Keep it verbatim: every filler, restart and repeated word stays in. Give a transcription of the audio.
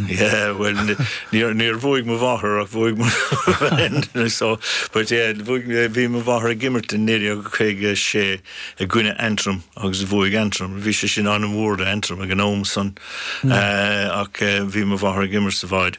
Yeah, well níor níor bhuaigh mo mháthair ach bhuaigh so but yeah, bhí mo mháthair ag imirt in naoi déag caoga sé i gcoinne Antrim agus bhuaigh Antrim bhí sé sin an-mhór Antrim ag an am san mm. uh, ach uh, bhí mo mháthair ag imirt sa bhád.